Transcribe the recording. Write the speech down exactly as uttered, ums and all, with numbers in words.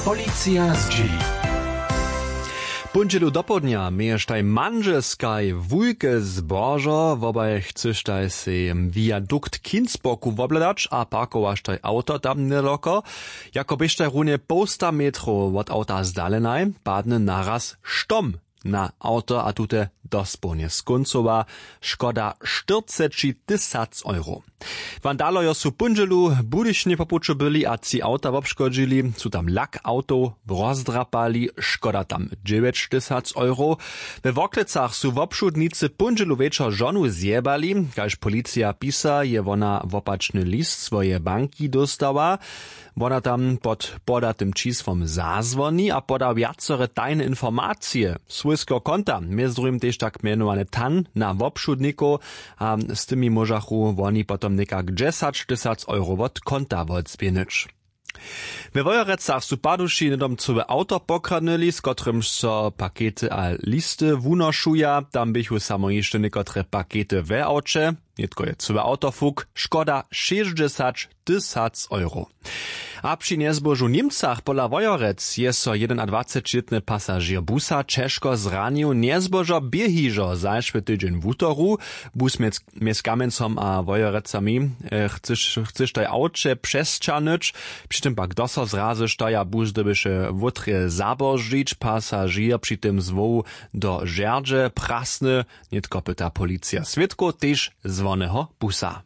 Policija zdźěli. Póndźelu dopołdnja měještaj mandźelskaj wulke zbožo, wobaj chcyštaj sej viadukt Kinsboku wobhladać a parkowaštaj awto tam njedaloko. Jako běštaj runje połsta metrow wot awta zdalenaj, padny naraz štom na awto a tute dospołnje skóncowa. Škoda štyrceći tysac euro. Wandalojo su póndźelu w Budyšinje po puću byli a tři awta wobškodźili. Su tam lak awtow rozdrapali, škoda tam dźewjeć tysac euro. We Worklecach su wobšudnicy póndźelu wječor žonu zjebali. Kaž policija pisa, je wona wopačny list swojeje banki dóstała. Wona tam pod podatym čisłom zazwoni a poda wjacore tajne informacije swójskeho konta, mjez druhim tež tak mjenowane tan na wobšudnikow. A z tymi móžachu woni potom někak dźesać tysac euro wot konta wotzběhnyć. We Wojerecach su paduši hnydom cyłe awto pokradnyli, z kotrymž so pakety a listy wunošuja. Tam běchu samo hišće někotre pakety we awće. Nětko je cyłe awto fuk, škoda šěsćdźesać tysac euro. A při njezbožu w Němcach pola Wojerec je so jedenadwacećilětny pasažěr busa ćežko zranił. Njezbožo bě hižo zašły tydźeń wutoru. Bus mjez, mjez Kamjencom a Wojerecami, eh, chcyš, chcyš taj awće přesćahnyć. Při tym pak doso zrazyštaj a bus dyrbješe wotrje zaboždźić. Pasažěr při tym zwołu do žerdźe prasny. Nětko pyta policija swědkow tež zwoneho busa.